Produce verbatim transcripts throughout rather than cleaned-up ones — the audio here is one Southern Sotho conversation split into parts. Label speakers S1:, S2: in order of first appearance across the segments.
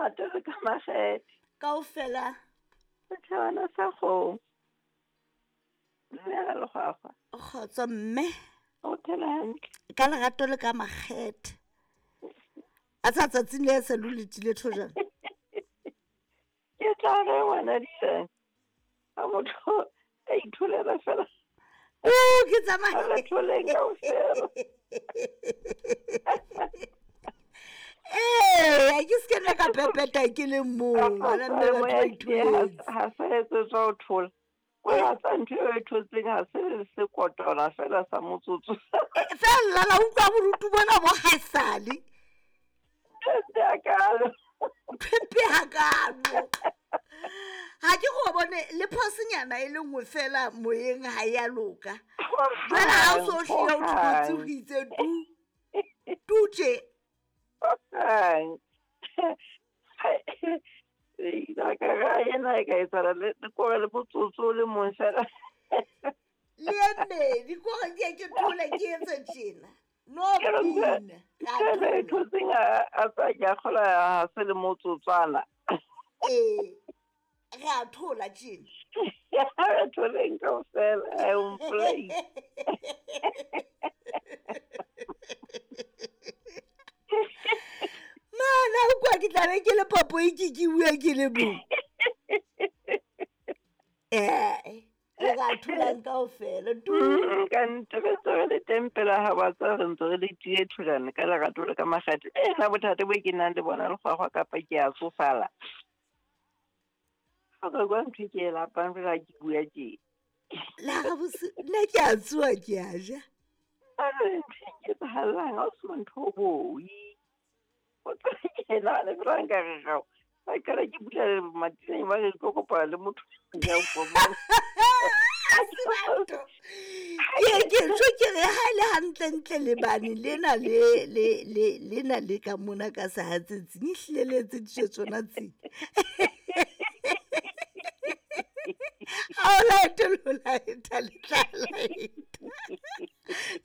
S1: lerato le ka makgethe.
S2: Kaofela.
S1: Setjhabana sa kgomo. Dumela Lekgwakgwa.
S2: Kgotso mme.
S1: O phela hantle.
S2: Ka lerato le ka makgethe. A tsa tsatsing le se lo letile thojana.
S1: Ke tla re ngwana diteng. Ha motho a itholela fela.
S2: O ke tsamaya.
S1: Re tholeng kaofela.
S2: Eh, ke se ke ka pepeta ke le mong. Ngwana mme batho ba itholetse.
S1: Ha se etsetswa ho thola. O ya tsa ntho eo e thotseng ha se se kotona fela sa motsotso.
S2: Fela la utlwa borutu bona bo haesale.
S1: Pepe hakalo.
S2: Pepe hakalo. Ha ke go bone le phosenyana e le nngwe fela moyeng ha ya loka. Jwale ha o so hlile o thotse ho itse tu. Tu tje.
S1: Ei, ka ga ena e ka etsala le kore le motsotso le mong fela.
S2: Le eme, di kore ke ke thole ke etse tjena. No pina.
S1: Ke thotseng a tsa ke a kgola ha se le motsotswana.
S2: Eh. Re a thola tjena.
S1: Re tholeng kaofela, I won't play.
S2: Mana o kwa ke tla be ke le popo e ke ke bua ke le mong. Eh, re a tholang kaofela tu.
S1: Ka nnete re ntse re le teng pela ha ba tsa re ntse re le tie thulane ka lerato le ka makgethe. Eh, nna bothata bo ke nang le bona Lekgwakgwa kapa ke a tsofala. Ha ka kwa ntho e ke e lapang fela ke bua tje.
S2: La ga bose nna ke a tsoha ke a ja.
S1: A re ntho e nketsahallang ha o se ntho o boi. O tla ke nahana fela nka re gao. Ba qala ke bula matineng ba re ke kopana le motho ya o
S2: Ke ke tjho ke re ha le hantle ntle le bane lena le le le lena le ka mona ka sehatsetsing e hlile le etseditswe tsona tse. Ha o laete lo laeta le tla laeta.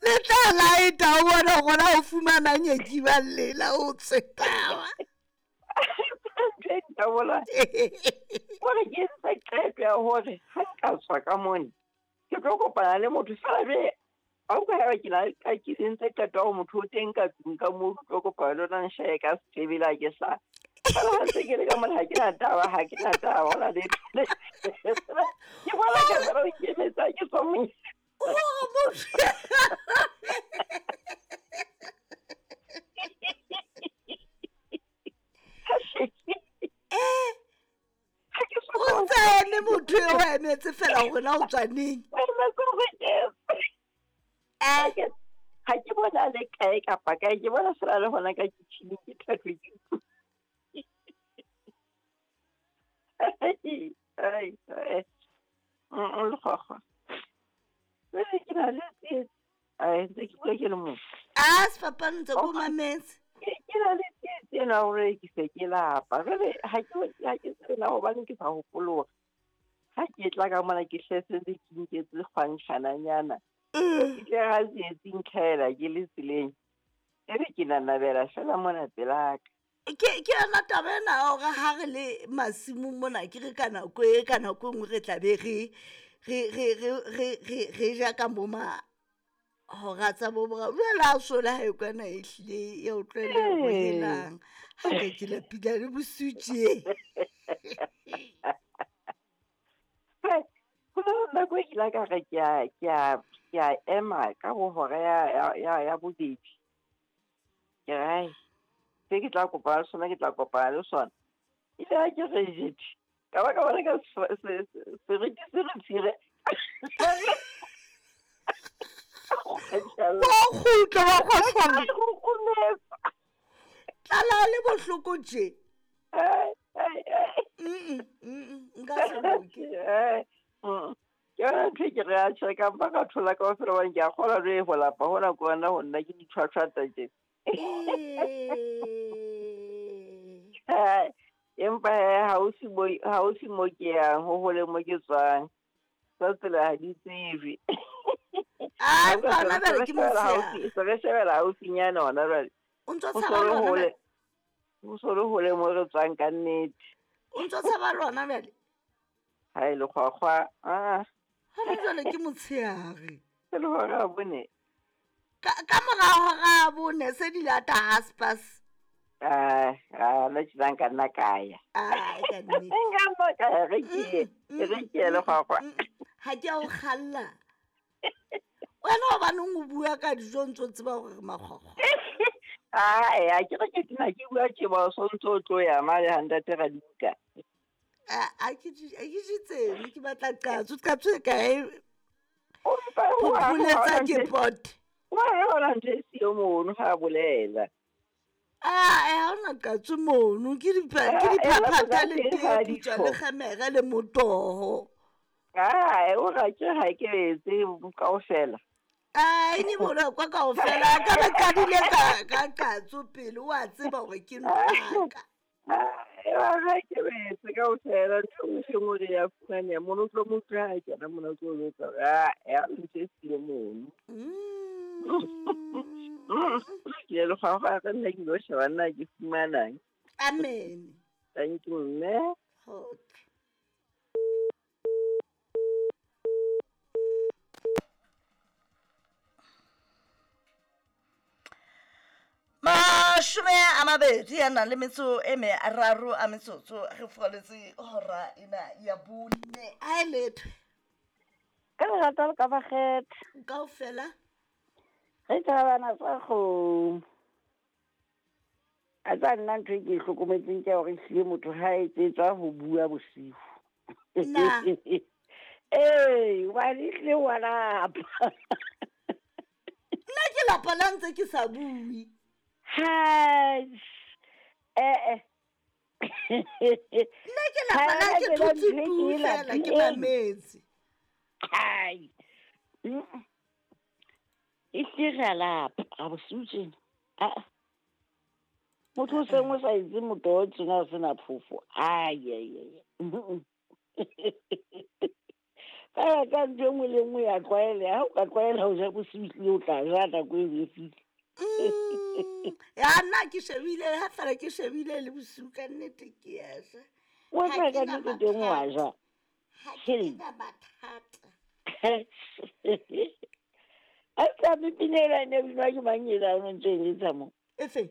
S2: Le tla laeta o bona gona o fumana nyeki ba lela o tsetawa.
S1: Ntho e ntabola. Kore ke entse qeto ya hore ha nka tswa ka mone ke tlo kopana le motho fela jwale ha o ka ya ke la ka ke entse qeto ya hore motho o teng ka tlung ka moo ke tlo kopana le yona nshaye ka setebele ha ke sa. Fela ha ntse ke le ka mona ha ke na taba ha ke na taba hona letho. Ke bona ka fela o ikemetsa ke tswa monyetla.
S2: Oh, motho. Eh. O ntse a eme motho eo a emetse fela hore na o tswa neng.
S1: Eh. Ha ke bona le kae kapa kae ke bona fela le hona ka kitchen ke thathwe ke. Ai, ai. Mm, Lekgwakgwa. Jwale ke na le tsietsi. Ai, ntse ke bua ke le mong.
S2: Ah, sefapano ntse ko mametse.
S1: Ke na le tsietsi ena hore ke se ke lapa. Jwale ha ke ha ke tsebe na hobaneng ke sa hopole hore ha ke tla ka mona ke hlese ntse ke nketse kgwantjhananyana. Ke tle ha tsietsi ntlhaela ke le tseleng. Ebe ke nanabela fela mona pelaka.
S2: Ke ke yona taba ena ya hore ha re le masimong mona ke re ka nako e ka nako e nngwe re tla be re re re re re re re ja ka bo ma hora tsa bo boraro. Jwale ha o sola ha e kwana e hlile ya o tlwaele ho helang. Ha ke ke lapile le bosiu tje.
S1: Ho na le nako e ke ile ka re ke a ke a ke a ema ka bo hora ya ya ya bobedi. Ke re ai se ke tla kopana le sona ke tla kopana le sona. Ile ha ke re jete. Ka ba ka bona ka seriti se re tshire.
S2: Wa kgutla wa kgotsola. Tlala le bohloko tje.
S1: Ai, ai, ai.
S2: Mm mm nka se loke.
S1: Eh. Mm. Ke yona ntho e ke re a tjhe ka mpa ka thola kaofela hobane ke a kgolwa jwale ho lapa hona ke hona ho nna ke ditshwatshwata tje.
S2: Eh.
S1: Empa he haufi mo haufi mo ke yang ho hole mo ke tswang. Tsa tsela ha di tsejwe.
S2: Ah, empa hona jwale ke motshehare.
S1: Se re shebela haufinyana hona jwale.
S2: O ntso
S1: Ho
S2: tshaba
S1: so le
S2: le hona
S1: hole. Ho so le hole mo re tswang ka nnete.
S2: O ntso tshaba lona bjale?
S1: Ha e lekgwakgwa. Ah.
S2: Hona jwale ke motshehare.
S1: E le hora ya bone.
S2: Ka ka mora hora ya bone se di lata haspas.
S1: Ah, ah, nna tjena nka nna ka ya.
S2: Ah, ka nnete.
S1: Nka nna ka ya, re ke ye,
S2: Mm,
S1: re ke ye lekgwakgwa.
S2: mm, Ha ke a o kgalla. Wena hobaneng o bua ka dijo ntso tseba hore re makgwakgwa?
S1: Ae, ha ke re ke tena ke bua tje ba o sontso o tlo ya mane ha ntate Radibuka.
S2: A a ke di a ke di tsebe, ke batla qatso, qatso e kae?
S1: O mpa o a-
S2: Phopholetsa ke pot.
S1: Wa re hona ntho e siyo mono ha a bolela.
S2: Ah, eh, ha hona qatso mono, ke dipa- ke
S1: Ah, eh,
S2: diphaphatha le
S1: ba
S2: tee
S1: ha
S2: putswa
S1: di
S2: le
S1: tjho.
S2: kgemere le motoho.
S1: Ae, o ra ke ha ke etse kaofela.
S2: Ai, ne bona kwa kaofela, ka ba qadile ka ka qatso pele, wa tseba hore ke ntho ya ka.
S1: Ae, wa ha ke etse kaofela, ntho e nngwe le e nngwe re ya fumaneha mono, o tlo mo utlwa ha kena mona o tlo jwetsa hore, ah, ha ntho e siyo mono.
S2: Mm.
S1: Ke le lekgwakgwa re nna ke lo sheba nna ke fumanang.
S2: Amen.
S1: Thank you, mme.
S2: Okay. Mashome a mabedi a nang le metso e meraro a metsotso re foletse hora ena ya bone. A e letho.
S3: Ka lerato le ka bakgetha.
S2: Kaofela.
S3: Re thabana sa kgomo. A tsa nna ntho e ke e hlokometseng ke ya hore ehlile motho ha a etsetswa ho bua bosiu.
S2: Na.
S3: Ee, hobane ehlile wa lapa.
S2: Nna ke lapa la ntse ke sa bue.
S3: Hai, eh, eh.
S2: Nna ke lapa la
S3: Ha
S2: ke
S3: ke
S2: thotse
S3: ntho e
S2: tu
S3: ke e
S2: fela, ke
S3: lapileng.
S2: mametse.
S3: Hai. Mm. Ehlile re a lapa, ga bosiu tjena. Ah. Motho o seng o sa etse motoho tjena o sena phofo. Ai, ai, ai. Fela ka ntho e nngwe le nngwe ya tlwaeleha. Ha o ka tlwaela ho ja bosiu ehlile o tla ja nako eo e fihle.
S2: Mm. Ya nna ke shebile, ha fela ke shebile le bosiu ka nnete ke a ja.
S3: Wa
S2: Ha
S3: tseba
S2: ke
S3: ka
S2: na
S3: nnete teng wa
S2: mathata.
S3: ja.
S2: Ha ke
S3: Hei.
S2: na mathata.
S3: A tsa pina ela e ne binwa ke mang ela o ntse e letsa mo?
S2: Efe?